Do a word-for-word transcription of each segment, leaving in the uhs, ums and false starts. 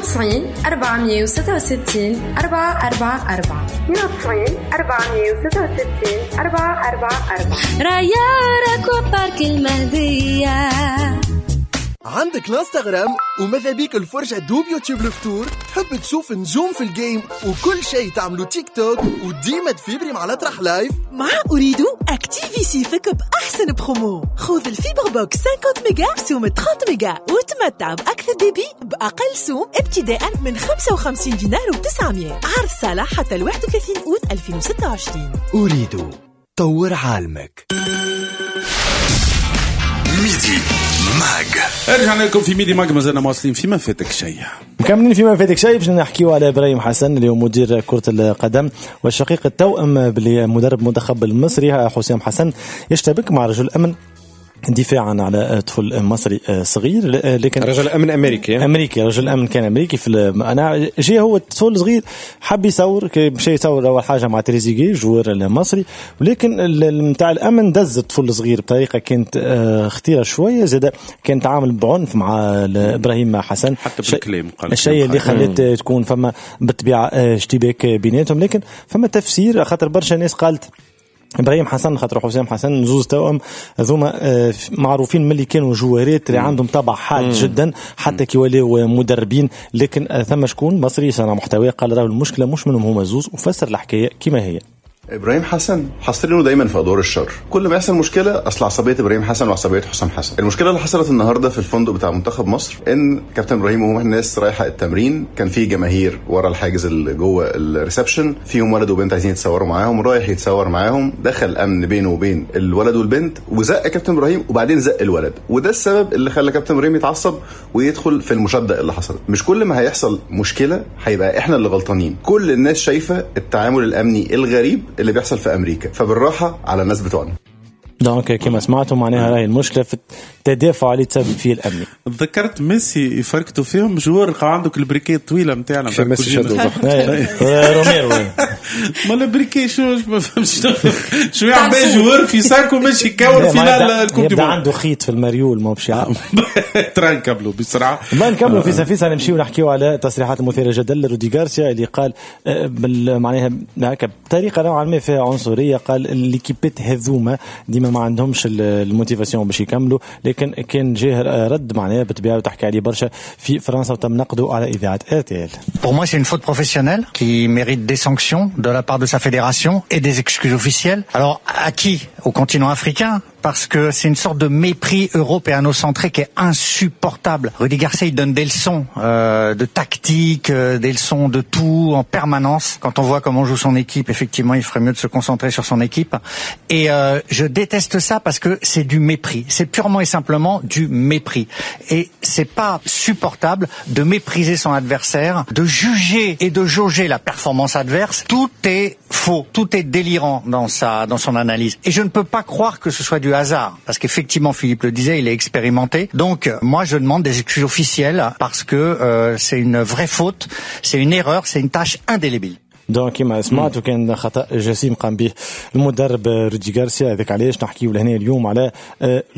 وتسعين أربعمية وستة وستين أربعة أربعة أربعة، اثنين وتسعين أربعمية وستة وستين أربعة أربعة أربعة. ريارك وبارك المهدية. عندك الانستغرام وماذا بيك الفرجة دوب يوتيوب الفطور، تحب تشوف نجوم في ال game وكل شيء تعملو تيك توك وديما تفيبري مع الأطرح live. مع Ooredoo اكتيفي صيفك بأحسن برومو، خذ ال fibre box خمسين ميجا بسوم ثلاثين ميجا وتمتع بأكثر débit بأقل سوم ابتداء من خمسة وخمسين دينار وتسعمية. عرض صالح حتى الواحد وثلاثين أوت ألفين وستة وعشرين. Ooredoo طور عالمك. Midi Mag. رجعنا لكم في Midi Mag، مازلنا مواصلين في ما فاتك شيء. مكملين في ما فاتك شيء باش نحكيو على ابراهيم حسن اللي هو مدير كرة القدم والشقيق التوأم بالمدرب المنتخب المصري حسام حسن، يشتبك مع رجل أمن دفاعا على طفل مصري صغير، لكن رجل امن امريكي امريكي رجل امن كان امريكي في انا جي هو الطفل صغير حب يصور، مشى يصور اول حاجة مع تريزيجيه joueur المصري، ولكن نتاع الامن دز الطفل الصغير بطريقة كانت خطيرة شوية، زاد كان تعامل بعنف مع ابراهيم حسن حتى بالكلام، قال الشيء اللي خلت تكون فما بالطبيعة اشتباك بيناتهم. لكن فما تفسير خاطر برشا ناس قالت ابراهيم حسن خاطر حسام حسن زوز توأم هذوما معروفين من اللي كانوا جوارات اللي عندهم طبع حاد جدا حتى كي ولاو مدربين، لكن ثم شكون مصري صنع محتوى قال راهو المشكلة مش منهم هما زوز، وفسر الحكاية كما هي. ابراهيم حسن حاصرينه دايما في ادوار الشر، كل ما يحصل مشكلة اصل عصبية ابراهيم حسن وعصبيه حسام حسن. المشكلة اللي حصلت النهارده في الفندق بتاع منتخب مصر ان كابتن ابراهيم وهم الناس رايحة التمرين كان في جماهير ورا الحاجز اللي جوه ال reception، فيهم ولد وبنت عايزين يتصوروا معاهم، رايح يتصور معاهم، دخل امن بينه وبين الولد والبنت وزق كابتن ابراهيم وبعدين زق الولد، وده السبب اللي خلى كابتن ابراهيم يتعصب ويدخل في المشاده اللي حصلت. مش كل ما هيحصل مشكلة هيبقى احنا اللي غلطانين، كل الناس شايفه التعامل الامني الغريب اللي بيحصل في أمريكا، فبالراحة على الناس بتوعنا. donc كما سمعتوا معناها راهي المشكلة في التدافع اللي تسبب فيه الامني. تذكرت ميسي يفركتوا فيهم joueur عندك ال briquet الطويلة نتاعنا في ميسي شادو روميرو ما ال briquet شو ما فهمتش شو يعمل joueur في sac و ماشي يكور finale ال coupe يبدا عنده خيط في المريول ما باش يعرف ترى نكملوا بسرعة ما نكملوا في سفيسه نمشيو نحكيو على تصريحات المثيرة جدا لرودي غارسيا اللي قال معناها هكا بطريقة نوعا ما فيها عنصرية، قال ليكيبات هذوما ديما ما عندهمش ال motivation باش يكملوا، لكن كان جاه رد معناها بالطبيعة وتحكي عليه برشا في فرنسا وتم نقده على اذاعة R T L. Pour moi, c'est une faute professionnelle qui mérite des sanctions de la part de sa fédération et des excuses officielles. Alors, à qui? Au continent africain? Parce que c'est une sorte de mépris européano-centré qui est insupportable. Rudi Garcia, il donne des leçons euh, de tactique, euh, des leçons de tout en permanence. Quand on voit comment joue son équipe, effectivement, il ferait mieux de se concentrer sur son équipe. Et euh, je déteste ça parce que c'est du mépris. C'est purement et simplement du mépris. Et c'est pas supportable de mépriser son adversaire, de juger et de jauger la performance adverse. Tout est faux, tout est délirant dans sa, dans son analyse. Et je ne peux pas croire que ce soit du hasard, parce qu'effectivement, Philippe le disait, il est expérimenté. Donc, moi, je demande des excuses officielles parce que euh, c'est une vraie faute, c'est une erreur, c'est une tâche indélébile. donc كما سمعت وكان خطا جسيم قام به المدرب رودي غارسيا. هذاك علاش نحكيو لهنا اليوم على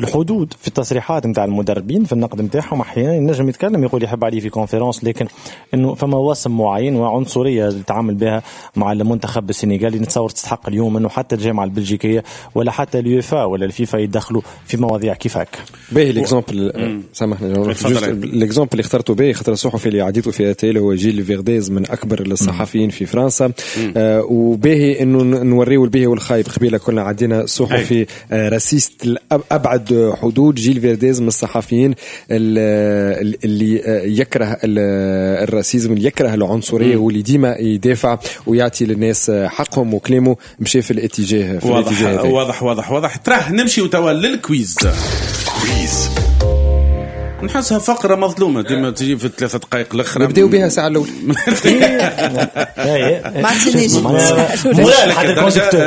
الحدود في التصريحات نتاع المدربين في النقد نتاعهم. احيانا ينجم يتكلم يقول يحب عليه في conférence، لكن انه فما وصم معين وعنصريه يتعامل بها مع المنتخب السنغالي. نتصور تستحق اليوم انه حتى الجامعة البلجيكيه ولا حتى اليوفا ولا الفيفا يدخلوا في مواضيع كيف هكا. باهي l'exemple، سامحني l'exemple اللي اخترته باهي خاطر الصحفي اللي عديته في R T L هو جيل فيرديز من اكبر الصحفيين في فرنسا. آه وباهي انه نوريو الباهي والخايب. قبيلة كنا عدينا صحفي آه raciste ابعد حدود. جيل فيرديز من الصحفيين اللي يكره ال racisme، اللي يكره العنصرية، واللي ديما يدافع ويعطي للناس حقهم، وكلامه مشى في الاتجاه في واضح الاتجاه هذا. واضح واضح واضح. تراه نمشي وتوا لل quiz. quiz نحسها فقرة مظلومة ديما تجي في الثلاثة دقائق الأخرى. نبداو بها ساعة الأولى. ما عطينيش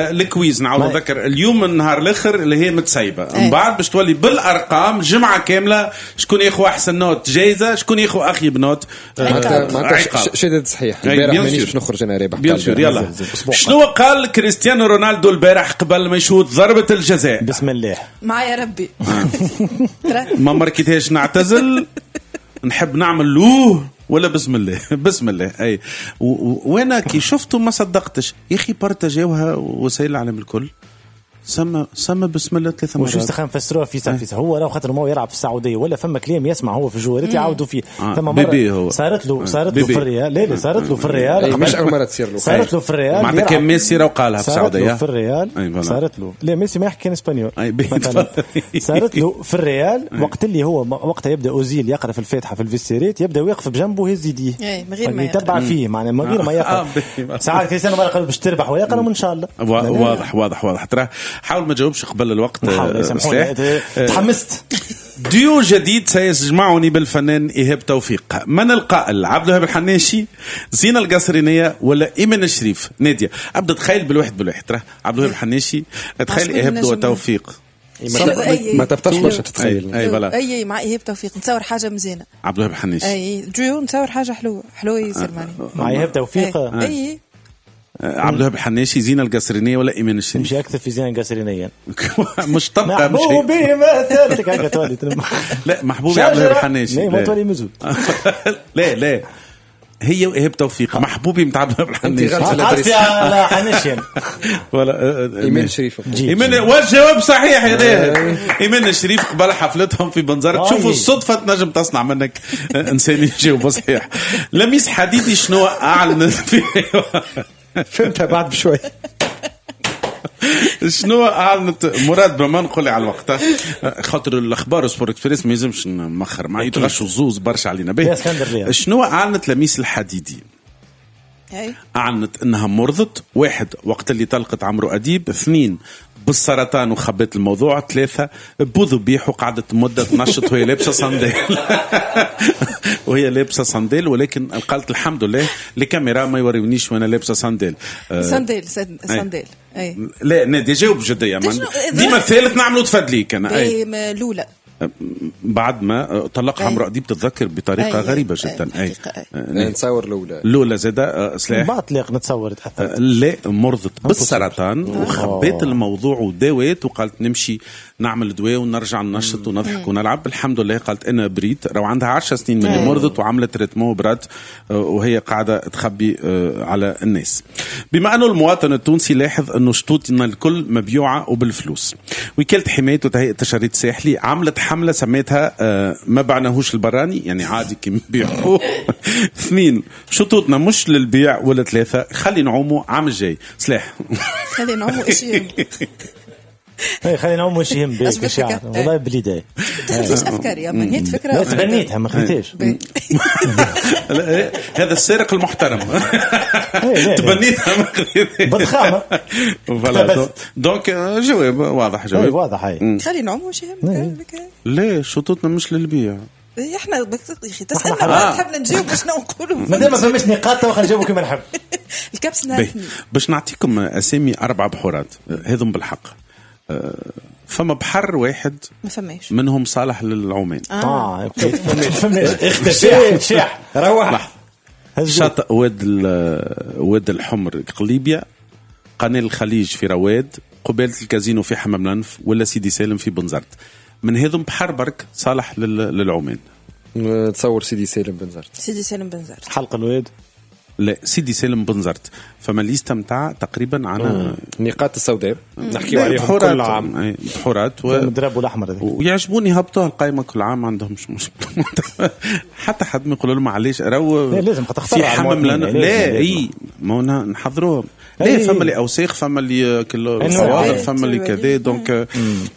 ال quiz. نعاود نذكر اليوم النهار الآخر اللي هي متسيبة، من بعد باش تولي بالأرقام جمعة كاملة شكون ياخو أحسن note جايزة، شكون ياخو أخيب note معناتها شدد صحيح. البارح مانيش باش نخرج أنا رابح. bien sûr. يلا شنو قال كريستيانو رونالدو البارح قبل ما يشوط ضربة الجزاء؟ بسم الله معايا ربي ما مركتهاش نعتزل، نحب نعمل له ولا بسم الله بسم الله اي. وانا كي شفته ما صدقتش يا اخي، بارتاجيوها وسائل العالم الكل. سما سما بسم الله ثلاث مرات. وشو استخدم فسروها في ساعة في ساعة. هو راه خاطر ما هو يلعب في السعودية ولا فما كلام يسمع هو في الجوارات يعاودوا فيه. آه. ثم مرة صارت له صارت له في الريال. لا لا صارت له في الريال، مش اول مرة تصير له. صارت له في الريال معناتها كان ميسي راه قالها في السعودية. صارت له في الريال، صارت له لا ميسي ما يحكي كان espagnol. صارت له في الريال وقت اللي هو وقتها يبدا اوزيل يقرا في الفاتحة في ال vestiaire ات، يبدا واقف بجنبه ويهز يديه من غير ما يتبع فيه، معناها من غير ما يقرا. ساعات كريستيانو ما قال باش تربح ويقرا ان شاء الله. واضح واضح واضح. ترى حاول ما تجاوبش قبل الوقت. تحمست. ديو جديد سيجمعني بالفنان إيهاب توفيق. من القائل؟ عبد الوهاب الحناشي، زينة القصرينية، ولا إيمان الشريف؟ نادية أبدأ تخيل بالواحد بالواحد. ترى عبد الوهاب الحناشي، تخيل إيهاب توفيق. ما تبطش برشا تتخيل. اي voilà اي مع ايهاب توفيق نتصور حاجة مزيانه. عبد الوهاب الحناشي اي ديو نتصور حاجة حلوة حلوة يصير معني مع ايهاب توفيق. اي عبد الوهاب الحناشي، زينة القصرينية، ولا إيمان الشريف؟ مش أكثر في زينة القصرينية. مش طبقة مش محبوبي ما ثالثك هكا تولي. لا محبوبي عبد الوهاب الحناشي. لا ما تولي مزود. لا لا هي وإيهاب توفيق. محبوبي متاع عبد الوهاب الحناشي. عارف يا حناشي ولا إيمان الشريف. إيمان، والجواب صحيح يا ناهد. إيمان الشريف قبل حفلتهم في بنزرت. شوفوا الصدفة تنجم تصنع منك إنسان يجاوب صحيح. لميس حديدي شنو أعلنت في فهمتها بعد بشوي. شنو أعلنت مراد بما نقول على الوقت خاطر الأخبار سبور اكسبريس ما يلزمش نمخر مع يتغشوا الزوز برشا علينا به. شنو أعلنت لميس الحديدي؟ أعلنت أنها مرضت، واحد وقت اللي طلقت عمرو أديب، اثنين بالسرطان وخبت الموضوع، ثلاثة بوذبيح وقعدت مدة تنشط وهي لابسة صندال. وهي لابسة صندال، ولكن قالت الحمد لله الكاميرا ما يوريونيش وانا لابسة صندال. صندال صندال اي لا نادي جاوب بجدية. ديما الثالث نعملوا تفدليك انا. اي الاولى بعد ما طلقها عمرو أديب تتذكر بطريقة أي غريبة جدا. أي, أي. نتصور الأولى الأولى زادة سلاح بعد طلاق نتصور تحت. لا مرضت بالسرطان وخبيت الموضوع وداويت وقالت نمشي نعمل دواء ونرجع ننشط ونضحك ونلعب. الحمد لله قالت أنا بريت. راهو عندها عشر سنين من اللي مرضت وعملت traitement برات وهي قاعدة تخبي على الناس. بما أنه المواطن التونسي لاحظ أنه شطوطنا الكل مبيوعة وبالفلوس، وكالة حماية وتهيئة التشريد الساحلي عملت حملة سميتها ما بعناهوش البراني، يعني عادي كي نبيعوه. اثنين شطوطنا مش للبيع، ولا ثلاثة خلي نعوموا عام الجاي. سلاح خلي نعوموا ايش يهم. اي خلي نعوموا ايش يهم بيك والله بليداي. تخليش افكاري يا من هي فكرة تبنيتها ما خليتهاش. هذا السارق المحترم تبنيتها ما خليتهاش بالخامه. voilà donc جواب واضح. جواب واضح. خلي نعوموا ايش يهم. لا شطوطنا مش للبيع. احنا يا اخي تسالنا تحبنا نجاوب باش نقولوا ما دام ما فماش نقاط تو خلينا نجاوبوا كيما نحب. الكبس نهار باش نعطيكم اسامي اربع بحورات هذم بالحق. فما بحر واحد ما فماش منهم صالح للعومان. اه, آه. فماش اختفى شاح روح. شاطئ واد واد الحمر قليبيا، قناة الخليج في رواد، قبالة الكازينو في حمام لنف، ولا سيدي سالم في بنزرت. من هذم بحر برك صالح للعومان. تصور سيدي سالم بنزرت. سيدي سالم بنزرت حلق الواد. لا سيدي سالم بنزرت. فما liste متاع تقريبا على النقاط السوداء نحكيو عليهم كل عام. بحورات و... المدرب والاحمر هذاك ويعجبوني هبطوها القائمة كل عام، عندهمش مشكلة. حتى حد ما يقول لهم علاش راهو لازم تختار في حمام لنا. لا اي ما نحضروهم. لا فما اللي اوساخ، فما اللي كل صوابر، فما اللي كذا. donc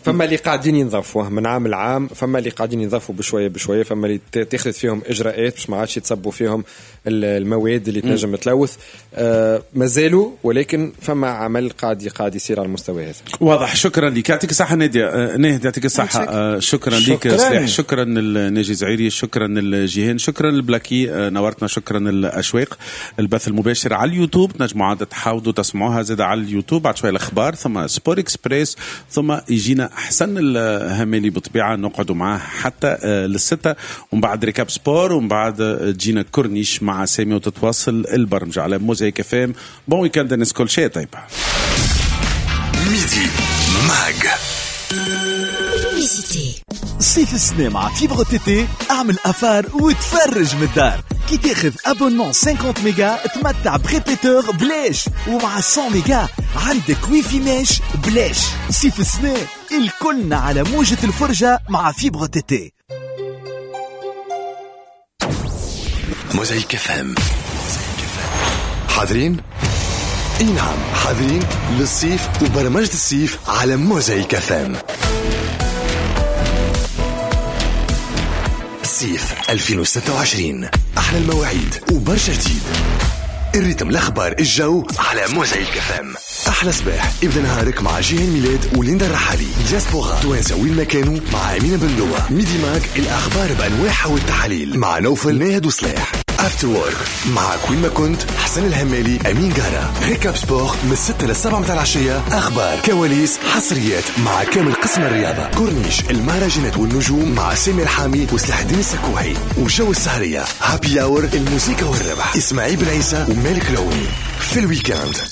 فما اللي قاعدين ينظفوه من عام لعام، فما اللي قاعدين ينظفوا بشوية بشوية، فما اللي تاخذ فيهم اجراءات باش ما عادش يتصبوا فيهم المواد اللي تنجم تلوث. آه مازالوا، ولكن فما عمل قاعد قاعد يصير على المستوى هذا. واضح. شكرا لك، يعطيك الصحة ناديه. ناهد يعطيك الصحة. شكرا لك سلاح، شكرا لناجي زعيري، شكرا لجيهان، شكرا لبلاكي نورتنا، شكرا للاشواق. البث المباشر على اليوتيوب تنجموا عاد تحاولوا تسمعوها زاد على اليوتيوب بعد شوية الاخبار، ثم سبور اكسبريس، ثم يجينا احسن الهمالي بالطبيعة نقعدوا معاه حتى للستة، ومن بعد récap sport، ومن بعد تجينا كورنيش مع سامي وتتواصل البرمجة على موزايك اف ام. bon week-end الناس كل شيء طيبة. Midi Mag. Publicité. صيف السنة مع fibre TT، اعمل affaire وتفرج من الدار. كي تاخذ abonnement خمسين ميجا تمتع ب répéteur بلاش، ومع مية ميجا عندك wifi mesh بلاش. صيف السنة الكلنا على موجة الفرجة مع fibre TT. موزايك FM. حاضرين؟ اي نعم، حاضرين للصيف وبرمجة الصيف على موزايك FM. صيف ألفين وستة وعشرين، احلى المواعيد وبرشا جديد. ال rythme، الاخبار، الجو على موزايك FM. احلى صباح، ابدا نهارك مع جيهان ميلاد وليندا الرحالي. دياسبورا توانسة وين ما كانوا مع امينه بندوه. Midi Mag، الاخبار بانواعها والتحاليل مع نوفل ناهد وصلاح. After Work معك وين ما كنت، حسن الهمالي، امين قارة. Récap Sport من ستة للسبعة متاع العشية، اخبار، كواليس، حصريات مع كامل قسم الرياضة. كورنيش المهرجانات والنجوم مع سامي الحامي وسلاح الدين السكوحي. وجو السهريه، happy hour، الموسيقى والربح، اسماعيل بن عيسى ومالك العوني. في ال week-end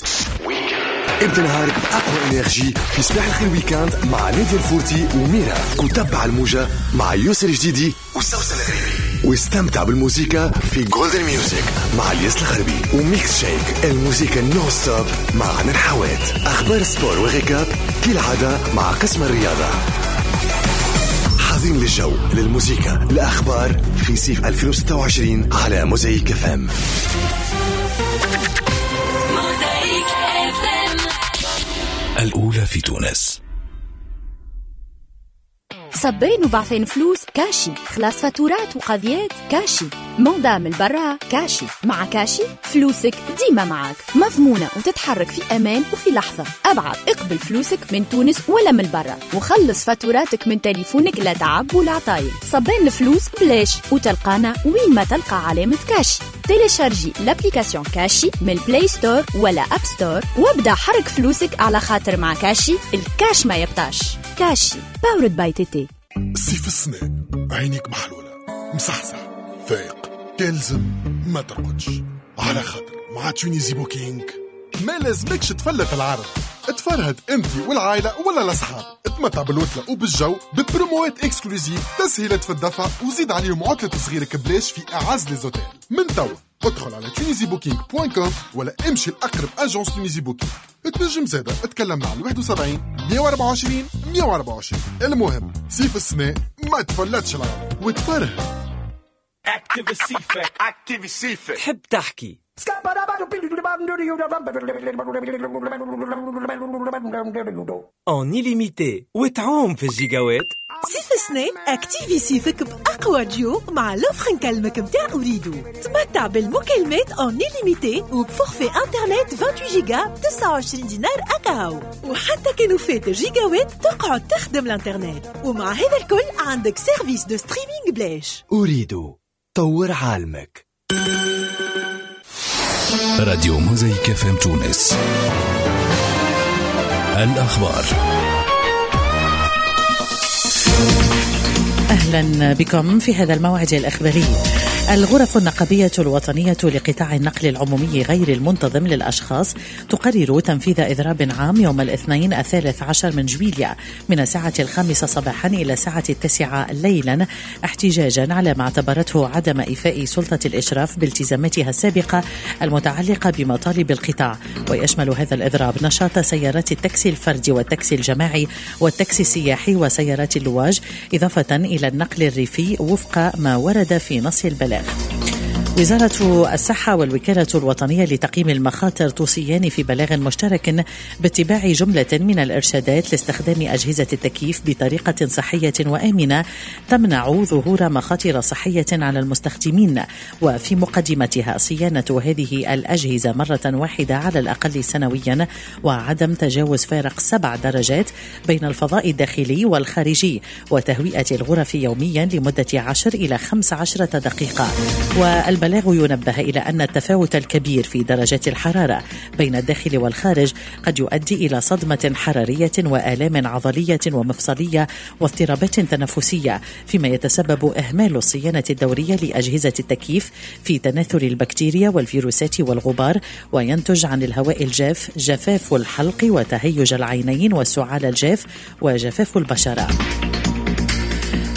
ابدا نهارك بأقوى énergie في صباح الخير week-end مع نادية الفورتي وميرا، وتبع الموجة مع يوسف الجديدي وسوسن الغريبي، واستمتع بالموسيقى في Golden Music مع الياس الغربي و Mix Shake، الموسيقى non-stop مع عنان حوات. أخبار sport و récap كالعادة مع قسم الرياضة. حاضرين للجو، للموسيقى، الأخبار في صيف ألفين وستة وعشرين على موزايك FM. الأولى في تونس. صبين وبعثين فلوس كاشي، خلاص فاتورات وقضيات كاشي، mandat من برا كاشي. مع كاشي فلوسك ديما معاك، مضمونة وتتحرك في أمان وفي لحظة. أبعث اقبل فلوسك من تونس ولا من برا، وخلص فاتوراتك من تليفونك، لا تعب ولا عطايل. صبين الفلوس بلاش، وتلقانا وين ما تلقى علامة كاشي. télécharger l'application كاشي من ال Play Store ولا App Store، وابدا حرك فلوسك على خاطر مع كاشي الكاش ما يبطاش. كاشي powered by TT. صيف السنة عينيك محلولة، مصحصح، فايق، تلزم ما ترقدش على خاطر مع Tunisie Booking ما لازمكش تفلت العرض. تفرهد انت والعائلة ولا الاصحاب، تمتع بالوتلة وبالجو ببروموات exclusives، تسهيلات في الدفع، وزيد عليهم عطلة صغيرك بلاش في اعز les hôtels. من توا ادخل على Tunisie Booking point com ولا امشي لاقرب agence Tunisie Booking. تنجم زاده اتكلم مع واحد وسبعين مية وأربعة وعشرين مية وأربعة وعشرين. المهم صيف السنة ما تفلتش العرض وتفرهد. تحب تحكي en illimité وتعوم في الجيجاوات. صيف السنة activer صيفك بأقوى ديو مع l'offre نكلمك متاع أوريدو. تمتع بالمكالمات en illimité وب forfait internet ثمانية وعشرين جيجا ب تسعة وعشرين دينار أكاهو، وحتى كانوا فات الجيجاوات تقعد تخدم الانترنت. ومع هذا الكل عندك service de streaming بلاش. أوريدو، طور عالمك. راديو موزايك FM تونس. الأخبار. أهلا بكم في هذا الموعد الإخباري. الغرف النقابية الوطنية لقطاع النقل العمومي غير المنتظم للأشخاص تقرر تنفيذ إضراب عام يوم الاثنين الثالث عشر من جويلية من الساعة الخامسة صباحا إلى الساعة التاسعة ليلا، احتجاجا على ما اعتبرته عدم إيفاء سلطة الإشراف بالتزاماتها السابقة المتعلقة بمطالب القطاع. ويشمل هذا الإضراب نشاط سيارات التاكسي الفردي والتاكسي الجماعي والتاكسي السياحي وسيارات اللواج، إضافة إلى النقل الريفي وفق ما ورد في نص البلاغ. وزارة الصحة والوكالة الوطنية لتقييم المخاطر توصيان في بلاغ مشترك باتباع جملة من الإرشادات لاستخدام أجهزة التكييف بطريقة صحية وآمنة تمنع ظهور مخاطر صحية على المستخدمين، وفي مقدمتها صيانة هذه الأجهزة مرة واحدة على الأقل سنويا، وعدم تجاوز فارق سبع درجات بين الفضاء الداخلي والخارجي، وتهوئة الغرف يوميا لمدة عشر إلى خمس عشرة دقيقة. والبلاغ ينبه إلى أن التفاوت الكبير في درجات الحرارة بين الداخل والخارج قد يؤدي إلى صدمة حرارية وآلام عضلية ومفصلية واضطرابات تنفسية، فيما يتسبب إهمال الصيانة الدورية لأجهزة التكييف في تناثر البكتيريا والفيروسات والغبار، وينتج عن الهواء الجاف جفاف الحلق وتهيج العينين والسعال الجاف وجفاف البشرة.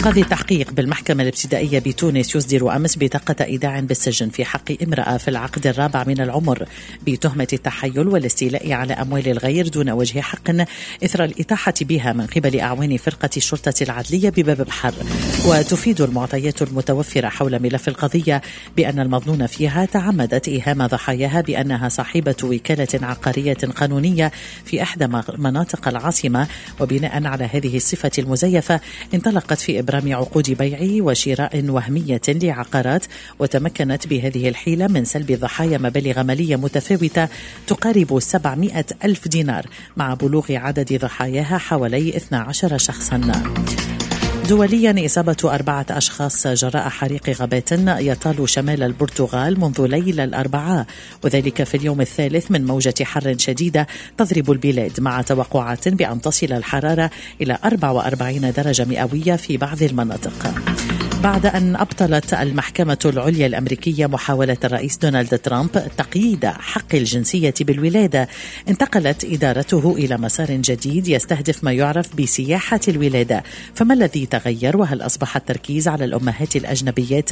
قاضي التحقيق بالمحكمة الابتدائية بتونس يصدر أمس بطاقة إيداع بالسجن في حق امرأة في العقد الرابع من العمر بتهمة التحيل والاستيلاء على أموال الغير دون وجه حق إثر الإطاحة بها من قبل أعوان فرقة الشرطة العدلية بباب بحر. وتفيد المعطيات المتوفرة حول ملف القضية بأن المظنون فيها تعمدت إيهام ضحاياها بأنها صاحبة وكالة عقارية قانونية في إحدى مناطق العاصمة، وبناء على هذه الصفة المزيفة انطلقت في إبرام عقود بيع وشراء وهمية لعقارات، وتمكنت بهذه الحيلة من سلب الضحايا مبالغ مالية متفاوتة تقارب سبعمائة ألف دينار، مع بلوغ عدد ضحاياها حوالي اثنا عشر شخصا. دوليا، إصابة أربعة أشخاص جراء حريق غابات يطال شمال البرتغال منذ ليل الأربعاء، وذلك في اليوم الثالث من موجة حر شديدة تضرب البلاد، مع توقعات بأن تصل الحرارة إلى أربعة وأربعين درجة مئوية في بعض المناطق. بعد أن أبطلت المحكمة العليا الأمريكية محاولة الرئيس دونالد ترامب تقييد حق الجنسية بالولادة، انتقلت إدارته إلى مسار جديد يستهدف ما يعرف بسياحة الولادة. فما الذي تغير؟ وهل أصبح التركيز على الأمهات الأجنبيات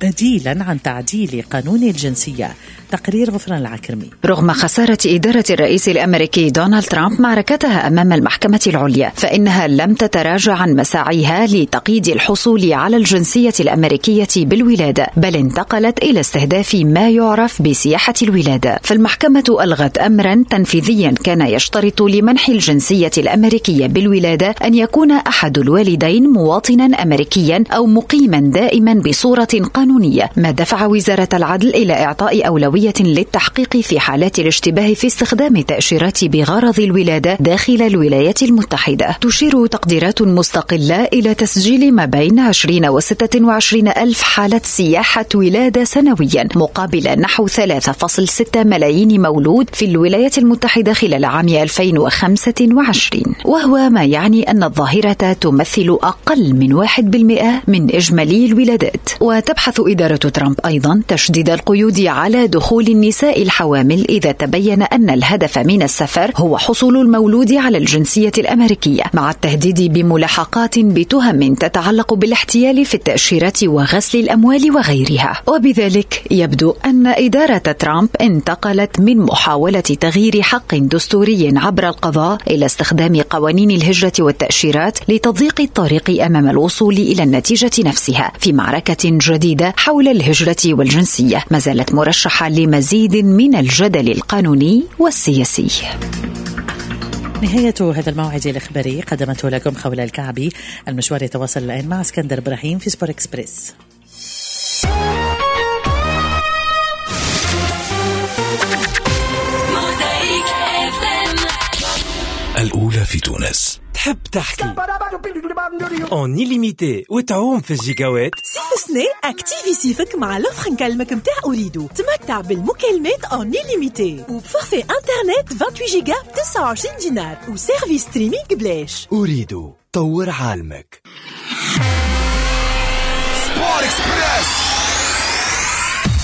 بديلا عن تعديل قانون الجنسية؟ تقرير غفران العكرمي. رغم خسارة إدارة الرئيس الأمريكي دونالد ترامب معركتها أمام المحكمة العليا، فإنها لم تتراجع عن مساعيها لتقييد الحصول على الجنسية الأمريكية بالولادة، بل انتقلت إلى استهداف ما يعرف بسياحة الولادة. فالمحكمة ألغت أمرا تنفيذيا كان يشترط لمنح الجنسية الأمريكية بالولادة أن يكون أحد الوالدين مواطنا أمريكيا أو مقيما دائما بصورة قانونية، ما دفع وزارة العدل إلى إعطاء أولوية للتحقيق في حالات الاشتباه في استخدام التأشيرات بغرض الولادة داخل الولايات المتحدة. تشير تقديرات مستقلة إلى تسجيل ما بين عشرين وستة وعشرين ألف حالة سياحة ولادة سنويا، مقابل نحو ثلاثة فاصلة ستة ملايين مولود في الولايات المتحدة خلال عام ألفين وخمسة وعشرين، وهو ما يعني أن الظاهرة تمثل أقل من واحد بالمئة من إجمالي الولادات. وتبحث إدارة ترامب أيضا تشديد القيود على دخول النساء الحوامل إذا تبين أن الهدف من السفر هو حصول المولود على الجنسية الأمريكية، مع التهديد بملاحقات بتهم تتعلق بالاحتيال في التأشيرات وغسل الأموال وغيرها. وبذلك يبدو أن إدارة ترامب انتقلت من محاولة تغيير حق دستوري عبر القضاء إلى استخدام قوانين الهجرة والتأشيرات لتضييق الطريق أمام الوصول إلى النتيجة نفسها في معركة جديدة حول الهجرة والجنسية، ما زالت مرشحة لمزيد من الجدل القانوني والسياسي. نهاية هذا الموعد الإخباري قدمته لكم خولة الكعبي. المشوار يتواصل الآن مع اسكندر إبراهيم في سبور إكسبريس. الأولى في تونس. تحب تحكي en illimité وتعوم في الجيجاوات؟ صيف سنة activer صيفك مع l'offre نكلمك متاع أوريدو، تمتع بالمكالمات en illimité وب forfait internet ثمانية وعشرين جيجا ب تسعة وعشرين دينار و service streaming بلاش. أوريدو، طور عالمك. سبور اكسبريس.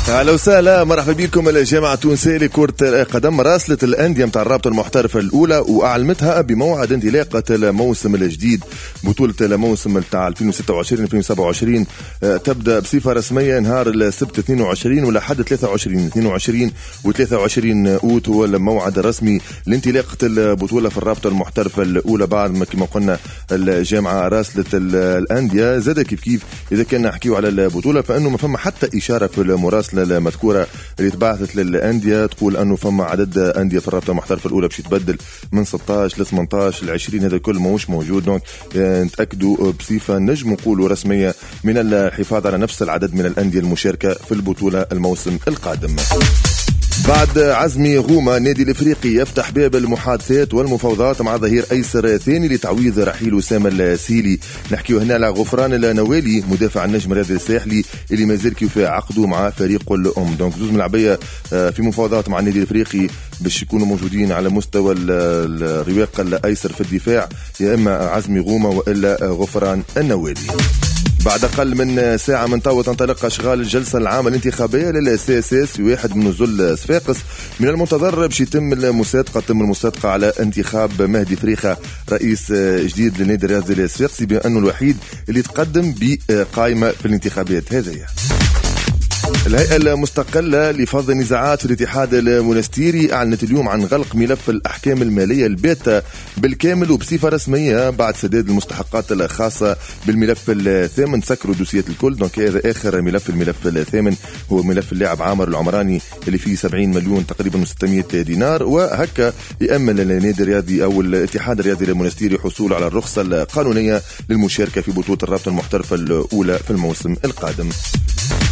اهلا وسهلا، مرحبا بكم. الجامعة التونسية لكرة القدم راسلت الاندية نتاع الرابطة المحترفه الاولى واعلمتها بموعد انطلاقة الموسم الجديد. بطوله الموسم نتاع ألفين وستة وعشرين ألفين وسبعة وعشرين تبدا بصفة رسمية نهار السبت اثنين وعشرين ولحد ثلاثة وعشرين اثنين وعشرين وثلاثة وعشرين اوت هو الموعد الرسمي لانطلاقه البطولة في الرابطة المحترفه الاولى. بعد ما كما قلنا الجامعة راسلت الاندية زاد كيف كيف. اذا كان نحكيو على البطولة فانه ما فما حتى اشارة في المراسله المذكورة اللي تبعثت للأندية تقول أنه فما عدد أندية في الرابطة المحترفة الأولى باش يتبدل من ستة عشر ل ثمانية عشر ل عشرين، هذا الكل ماهوش موجود. donc نتأكدوا بصفة نجم نقولوا رسمية من الحفاظ على نفس العدد من الأندية المشاركة في البطولة الموسم القادم. بعد عزمي غوما، النادي الافريقي يفتح باب المحادثات والمفاوضات مع ظهير ايسر ثاني لتعويض رحيل اسامة السيلي. نحكيو هنا على غفران النوالي مدافع النجم الرياضي الساحلي اللي مازال كيف عقده مع فريق الام. donc زوز ملعبيه في مفاوضات مع النادي الافريقي باش يكونوا موجودين على مستوى الرواق الايسر في الدفاع، يا اما عزمي غوما والا غفران النوالي. بعد أقل من ساعة من تو تنطلق أشغال الجلسة العامة الانتخابية لل CSS في واحد من نزل صفاقس. من المنتظر باش يتم المصادقة تم المصادقة على انتخاب مهدي فريخة رئيس جديد للنادي الرياضي الصفاقسي، بأنه الوحيد اللي تقدم بقائمة في الانتخابات هذه. الهيئة المستقلة لفض النزاعات في الاتحاد المونستيري أعلنت اليوم عن غلق ملف الأحكام المالية الباتة بالكامل وبصفة رسمية بعد سداد المستحقات الخاصة بالملف الثامن. سكروا دوسيات الكل، donc هذا آخر ملف. الملف الثامن هو ملف اللاعب عامر العمراني اللي فيه سبعين مليون تقريبا وستمائة دينار، وهكا يأمل النادي الرياضي أو الاتحاد الرياضي المونستيري حصول على الرخصة القانونية للمشاركة في بطولة الرابطة المحترفة الأولى في الموسم القادم.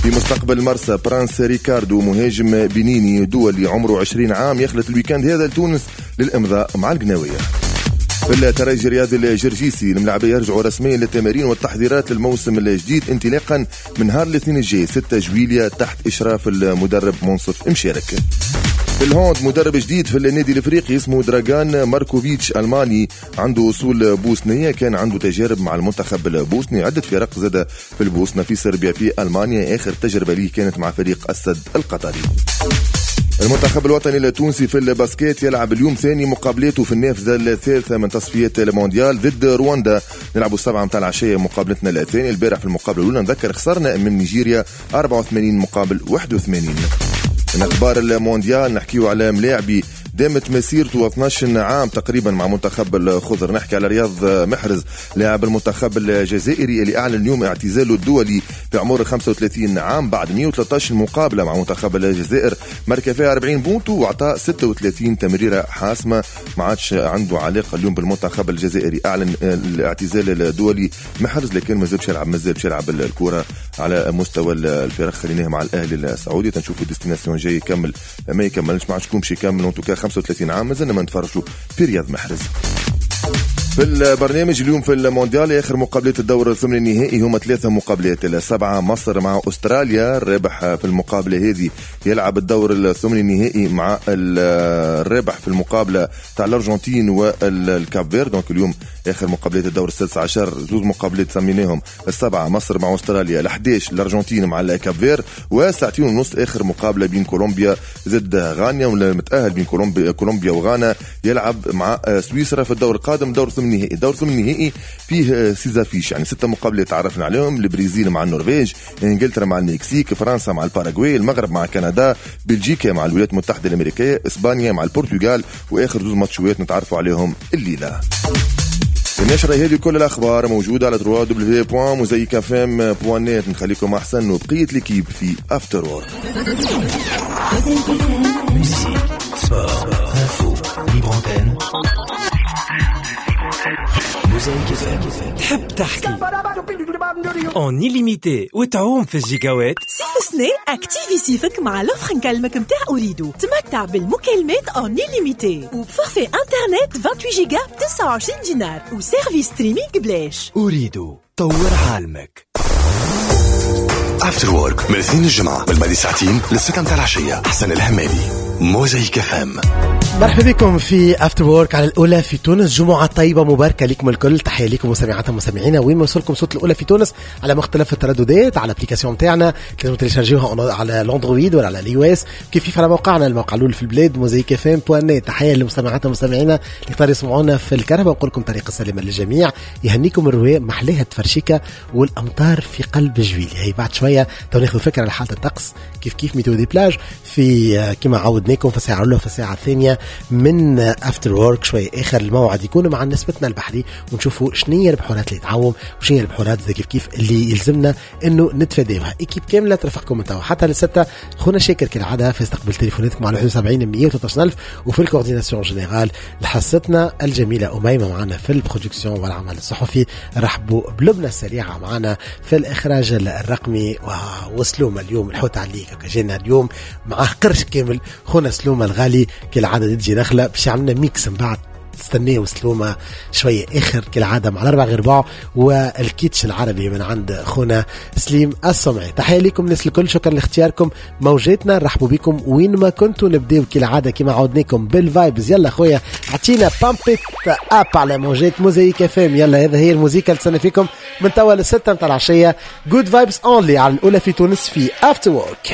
في مستقبل مرسى برانس ريكاردو مهاجم بنيني دولي عمره عشرين عام يخلط ال week-end هذا لتونس للإمضاء مع القناوية. في الترجي الرياضي الجرجيسي الملاعبية يرجعوا رسميا للتمارين والتحضيرات للموسم الجديد انطلاقا من نهار الاثنين الجاي ستة جويلية تحت إشراف المدرب منصف مشارك. في ال hand مدرب جديد في النادي الافريقي اسمه دراغان ماركوفيتش، الماني عنده اصول بوسنيه، كان عنده تجارب مع المنتخب البوسني عده فرق زاد في البوسنة في صربيا في المانيا، اخر تجربه ليه كانت مع فريق السد القطري. المنتخب الوطني التونسي في ال basket يلعب اليوم ثاني مقابلاته في النافذة الثالثة من تصفيات المونديال ضد رواندا، نلعبوا السبعة متاع العشية مقابلتنا الثانية. البارح في المقابلة الأولى نذكر خسرنا من نيجيريا أربعة وثمانين مقابل واحد وثمانين. من أخبار المونديال نحكيو على ملاعبي دامت مسيرته اثناش عام تقريبا مع منتخب الخضر، نحكي على رياض محرز لاعب المنتخب الجزائري اللي أعلن اليوم اعتزاله الدولي في عمر خمسة وثلاثين عام بعد مئة وثلاثة عشر مقابلة مع منتخب الجزائر، مركز فيها أربعين بونتو وأعطى ستة وثلاثين تمريرة حاسمة. ما عادش عنده علاقة اليوم بالمنتخب الجزائري، أعلن الاعتزال الدولي محرز لكن مازال باش يلعب مازال باش يلعب الكرة على مستوى الفرق. خليناه مع الأهلي السعودي تنشوفوا destination جاي يكمل ما يكملش، ما عادش شكون باش يكمل. en tout cas خمسة وثلاثين عام مازلنا ما نتفرجوا في رياض محرز. في البرنامج اليوم في المونديال اخر مقابلات الدور الثمن النهائي هما ثلاثة مقابلات، السبعة مصر مع استراليا، الرابح في المقابلة هذه يلعب الدور الثمن النهائي مع الرابح في المقابلة تاع الارجنتين والكاب فير. donc اليوم اخر مقابلات الدور السادس عشر زوز مقابلات سميناهم، السبعة مصر مع استراليا، الأحد عشر الارجنتين مع الكاب فير، وساعتين ونص اخر مقابله بين كولومبيا ضد غانا، والمتاهل بين كولومبيا كولومبيا وغانا يلعب مع سويسرا في الدور القادم دور ثمن النهائي. الدور ثمن النهائي فيه six affiches، يعني ستة مقابلات تعرفنا عليهم، البرازيل مع النرويج، انجلترا مع المكسيك، فرنسا مع الباراغواي، المغرب مع كندا، بلجيكا مع الولايات المتحدة الأمريكية، اسبانيا مع البرتغال، واخر زوز ماتشوات نتعرفوا عليهم الليلة. النشرة هذه كل الأخبار موجودة على دبليو دبليو دبليو دوت موزايك اف ام دوت نت. نخليكم أحسن وبقية l'équipe في After Work. تحب تحكي en illimité وتعوم في الجيجاوات؟ صيف سنة activer صيفك مع l'offre نكلمك متاع أوريدو، تمتع بالمكالمات en illimité وب forfait internet ثمانية وعشرين جيجا ب تسعة وعشرين دينار و service streaming بلاش. أوريدو طور عالمك. After Work من الاثنين الجمعة من بعد ساعتين للستة متاع العشية. حسن الهمالي، موزايك اف ام. مرحبا بكم في After Work على الاولى في تونس. جمعه طيبة مباركة لكم الكل، تحية لكم مستمعاتنا ومستمعينا وين ما وصلكم صوت الاولى في تونس على مختلف الترددات، على l'application تاعنا لازم تيليشارجيوها على الاندرويد ولا على ال iOS، كيف كيف على موقعنا الموقع الاول في البلاد موزايك اف ام دوت نت. تحية لمستمعاتنا ومستمعينا اللي اختاروا يسمعونا في الكهرباء، ونقول لكم طريق السلامة للجميع، يهنيكم الرواء محليها التفرشيكه والامطار في قلب جويلية. هي بعد شوية تو ناخذ فكرة على حاله الطقس كيف كيف météo des plages في كما عودناكم في الساعة الاولى وفي الساعة الثانية من After Work. شوي اخر الموعد يكون مع نسبتنا البحري ونشوفوا شنية البحورات اللي تعوم وشنية البحورات زي كيف كيف اللي يلزمنا انه نتفاداوها. équipe كاملة ترافقكم من توا حتى للستة. خونا شاكر كالعادة في استقبال تليفوناتكم على واحد وسبعين مية وثلاثة عشر ألف، وفي ال coordination générale لحصتنا الجميلة اميمة معنا في ال production والعمل الصحفي، رحبوا بلبنى السريعة معنا في الاخراج الرقمي، وسلومه اليوم الحوت عليك جينا اليوم معاه قرش كامل. خونا سلومه الغالي كالعادة تجي داخله باش عملنا mix من بعد تستناو سلومه شوية اخر كالعادة مع الاربع غير ربع والكيتش العربي من عند خونا سليم السمعي. تحية لكم الناس الكل، شكرا لاختياركم موجاتنا، نرحبوا بكم وين ما كنتوا. نبداو كالعادة كما عودناكم بال vibes. يلا خويا عطينا pump it up على موجات موزايك اف ام. يلا هذا هي الموزيكا اللي تستنى فيكم من توا للستة متاع العشية. good vibes only على الاولى في تونس في After Work.